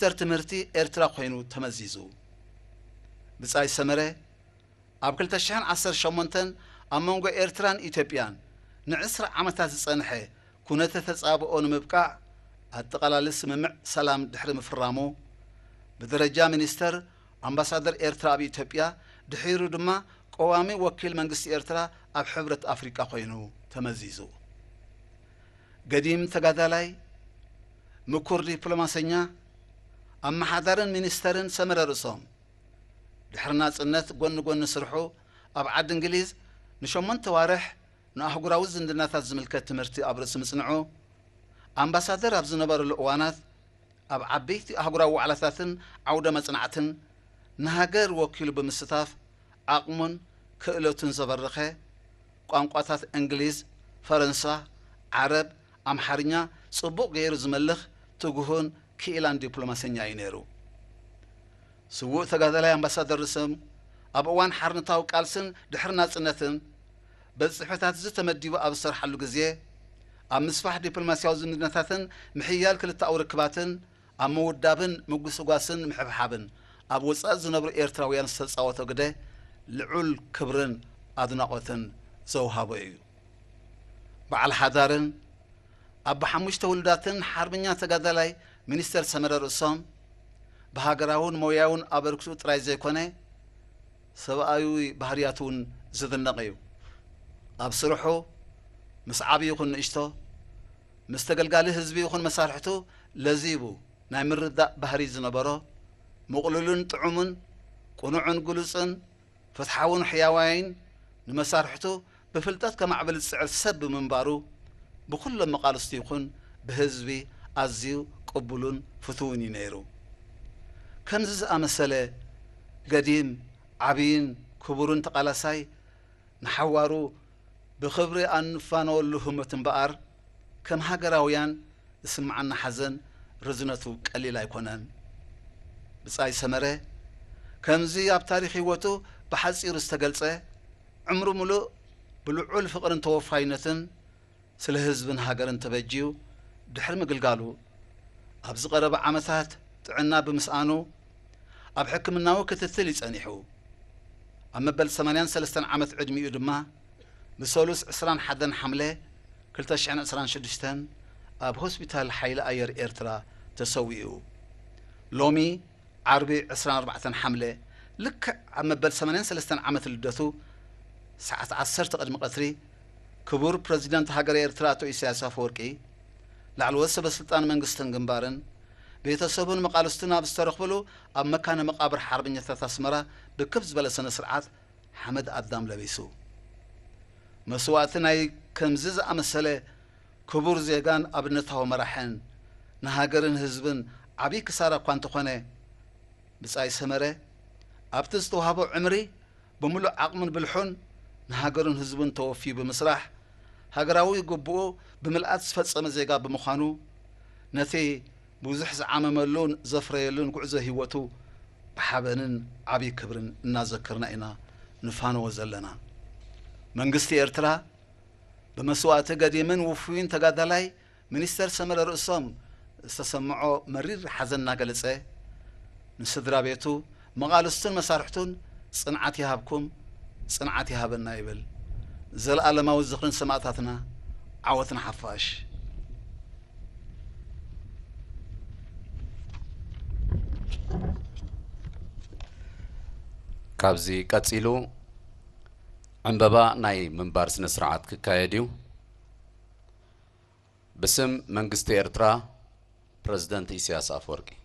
ሚኒስተር ትምህርቲ ኤርትራ ኮይኑ ተመዚዙ። ብጻይ ሰመረ ኣብ ክልተ ሽሕን ዓሰርተ ሸሞንተን ኣብ መንጎ ኤርትራን ኢትዮጵያን ንዕስራ ዓመታት ዝጸንሐ ኩነተ ተጻብኦ ንምብቃዕ ኣጠቓላሊ ስምምዕ ሰላም ድሕሪ ምፍራሙ፣ ብደረጃ ሚኒስተር ኣምባሳደር ኤርትራ ኣብ ኢትዮጵያ፣ ድሒሩ ድማ ቀዋሚ ወኪል መንግስቲ ኤርትራ ኣብ ሕብረት ኣፍሪቃ ኮይኑ ተመዚዙ። ገዲም ተጋዳላይ፣ ምኩር ዲፕሎማሰኛ፣ ኣመሓዳርን ሚኒስተርን ሰመረ ርእሶም፣ ድሕሪ ናጽነት ጎኒ ጎኒ ስርሑ ኣብ ዓዲ እንግሊዝ ንሸሞንተ ዋርሕ ንኣህጉራዊ ዝምድናታት ዝምልከት ትምህርቲ ኣብ ርእሲ ምጽንዑ፣ ኣምባሳደር ኣብ ዝነበረሉ እዋናት ኣብ ዓበይቲ ኣህጉራዊ ዋዕላታትን ዓውደ መጽናዕትን ንሃገር ወኪሉ ብምስታፍ ዓቕሙን ክእለቱን ዘበረኸ፣ ቋንቋታት እንግሊዝ፣ ፈረንሳ፣ ዓረብ፣ ኣምሓርኛ ጽቡቕ ገይሩ ዝመልኽ ትጉሁን ክኢላን ዲፕሎማሰኛ እዩ ነይሩ። ስዉእ ተጋዳላይ ኣምባሳደር ርእሶም ኣብ እዋን ሓርነታዊ ቃልስን ድሕሪ ናጽነትን በቲ ጽሕፈታት እዚ ተመዲቡ ኣብ ዝሰርሓሉ ግዜ፣ ኣብ ምስፋሕ ዲፕሎማስያዊ ዝምድናታትን ምሕያል ክልተኣዊ ርክባትን፣ ኣብ ምውዳብን ምጉስጓስን ምሕብሓብን ኣብ ወጻኢ ዝነብሩ ኤርትራውያን ዝተጻወቶ ግደ ልዑል ክብርን ኣድናቖትን ዘውሃቦ እዩ። በዓል ሓዳርን ኣቦ ሓሙሽተ ውሉዳትን ሓርበኛ ተጋዳላይ ሚኒስተር ሰመረ ርእሶም፣ ብሃገራውን ሞያውን ኣበርክትኡ ጥራይ ዘይኮነ፣ ሰብኣዊ ባህርያቱ እውን ዝድነቕ እዩ። ኣብ ስርሑ፣ ምስ ዓቢ ይኹን ንእሽቶ፣ ምስ ተገልጋሊ ህዝቢ ይኹን መሳርሕቱ ለዚቡ ናይ ምርዳእ ባህሪ ዝነበሮ፣ ምቕሉልን ጥዑምን፣ ቅኑዕን ግሉጽን፣ ፍትሓውን ሕያዋይን፣ ንመሳርሕቱ ብፍልጠት ከማዕብል ዝጽዕር ሰብ ብምንባሩ፣ ብኹሎም መቓልስቱ ይኹን ብህዝቢ ኣዝዩ ቅቡልን ፍቱውን እዩ ነይሩ። ከምዚ ዝኣመሰለ ገዲም፣ ዓብይን ክቡርን ተቓላሳይ፣ ንሓዋሩ ብኽብሪ ኣንፋነወሉ ህሞት እምበኣር፣ ከም ሃገራውያን ዝስምዓና ሓዘን ርዝነቱ ቀሊል ኣይኮነን። ብጻይ ሰመረ፣ ከምዚ ኣብ ታሪኽ ህይወቱ ብሓጺሩ ዝተገልጸ፣ ዕምሩ ምሉእ ብልዑል ፍቕርን ተወፋይነትን ስለ ህዝብን ሃገርን ተበጅዩ ድሕሪ ምግልጋሉ፣ ኣብዚ ቀረባ ዓመታት ጥዕና ብምስኣኑ ኣብ ሕክምናዊ ክትትል እዩ ጸኒሑ። ኣብ መበል ሰማንያን ሰለስተን ዓመት ዕድሚኡ ድማ ብሰሉስ ዕስራን ሓደን ሓምለ ክልተ ሽሕን ዕስራን ሽዱሽተን ኣብ ሆስፒታል ሓይሊ ኣየር ኤርትራ ተሰዊኡ። ሎሚ ዓርቢ ዕስራን ኣርባዕተን ሓምለ ልክዕ ኣብ መበል ሰማንያን ሰለስተን ዓመት ልደቱ ሰዓት ዓሰርተ ቅድሚ ቀትሪ ክቡር ፕረዚደንት ሃገረ ኤርትራ ኣቶ ኢሳያስ ኣፈወርቂ፣ ላዕለዎት ሰበ ስልጣን መንግስትን ግንባርን፣ ቤተሰቡን መቓልስቱን ኣብ ዝተረኽብሉ ኣብ መካነ መቓብር ሓርበኛታት ኣስመራ ብክብ ዝበለ ስነ ስርዓት ሓመድ ኣዳም ለቢሱ። መስዋእቲ ናይ ከምዚ ዝኣመሰለ ክቡር ዜጋን ኣብነታዊ መራሕን ንሃገርን ህዝብን ዓብዪ ክሳራ እኳ እንተኾነ፣ ብጻይ ሰመረ ኣብቲ ዝተዋህቦ ዕምሪ ብምሉእ ዓቕሙን ብልሑን ንሃገሩን ህዝቡን ተወፊዩ ብምስራሕ፣ ሃገራዊ ግቡኡ ብምልኣት ዝፈጸመ ዜጋ ብምዃኑ፣ ነቲ ብዙሕ ዝዓመመሉን ዘፍረየሉን ጉዕዞ ህይወቱ ብሓበንን ዓብዪ ክብርን እናዘከርና ኢና ንፋነዎ ዘለና። መንግስቲ ኤርትራ ብመስዋእቲ ገዲምን ውፉይን ተጋዳላይ ሚኒስተር ሰመረ ርእሶም ዝተሰምዖ መሪር ሓዘን እናገለጸ፣ ንስድራ ቤቱ፣ መቓልስቱን መሳርሕቱን ጽንዓት ይሃብኩም፣ ጽንዓት ይሃበና ይብል። ዘለኣለማዊ ዝኽርን ሰማእታትና፣ ዓወት ንሓፋሽ። ካብዚ ቀጺሉ ዕምበባ ናይ ምንባር ስነ ስርዓት ክካየድ እዩ። ብስም መንግስቲ ኤርትራ፣ ፕረዚደንት ኢሳያስ ኣፈወርቂ።